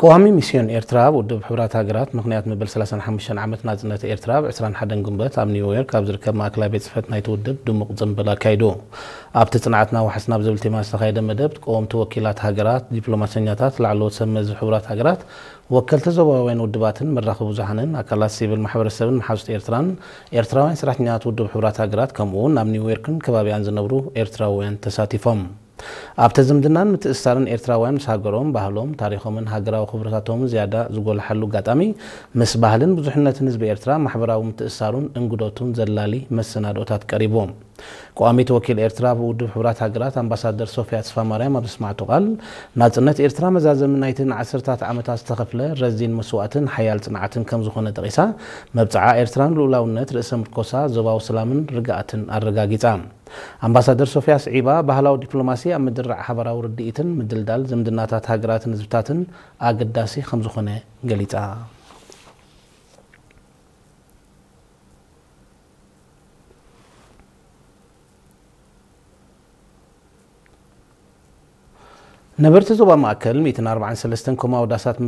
ቀዋሚ ሚስዮን ኤርትራ ኣብ ውድብ ሕቡራት ሃገራት ምኽንያት መበል ሰላሳን ሓሙሽተን ዓመት ናጽነት ኤርትራ፣ ኣብ ዕስራን ሓደን ግንቦት ኣብ ኒውዮርክ ኣብ ዝርከብ ማእከላይ ቤት ጽሕፈት ናይቲ ውድብ ድሙቕ ጽምብል ኣካይዱ። ኣብቲ ጽንዓትና ዋሕስ ናብ ዝብል ቴማ ዝተኻየደ መደብ፣ ቀወምቲ ወኪላት ሃገራት፣ ዲፕሎማሰኛታት፣ ላዕለዎት ሰብ መዚ ሕቡራት ሃገራት፣ ወከልቲ ዞባውያን ውድባትን መራኸቢ ብዙሓንን፣ ኣካላት ሲቪል ማሕበረሰብን መሓዙት ኤርትራን፣ ኤርትራውያን ሰራሕተኛታት ውድብ ሕቡራት ሃገራት፣ ከምኡ እውን ኣብ ኒውዮርክን ከባቢኣን ዝነብሩ ኤርትራውያን ተሳቲፎም። ኣብቲ ዝምድናን ምትእስሳርን ኤርትራውያን ምስ ሃገሮም፣ ባህሎም፣ ታሪኾምን ሃገራዊ ክብርታቶምን ዝያዳ ዝጎልሓሉ ኣጋጣሚ፣ ምስ ባህልን ብዙሕነትን ህዝቢ ኤርትራ ማሕበራዊ ምትእስሳሩን እንግዶቱን ዘላሊ መሰናድኦታት ቀሪቡ። ቀዋሚት ወኪል ኤርትራ ኣብ ውድብ ሕቡራት ሃገራት ኣምባሳደር ሶፊያ ተስፋማርያም ኣብ ዘስማዕቶ ቃል፣ ናጽነት ኤርትራ መዛዘሚ ናይቲ ንዓሰርታት ዓመታት ዝተኸፍለ ረዚን መስዋእትን ሓያል ጽንዓትን ከም ዝኾነ ጠቒሳ፣ መብጽዓ ኤርትራን ልኡላውነት ርእሰ ምርኮሳ ዞባዊ ሰላምን ርግኣትን ኣረጋጊጻ። ኣምባሳደር ሶፊያ ስዒባ፣ ባህላዊ ዲፕሎማሲ ኣብ ምድርራዕ ሓባራዊ ርድኢትን ምድልዳል ዝምድናታት ሃገራትን ህዝብታትን ኣገዳሲ ከም ዝኾነ ገሊጻ። ነበርቲ ዞባ ማእከል ሚእትን ኣርባዓን ሰለስተን ኮማዊ ዳሳት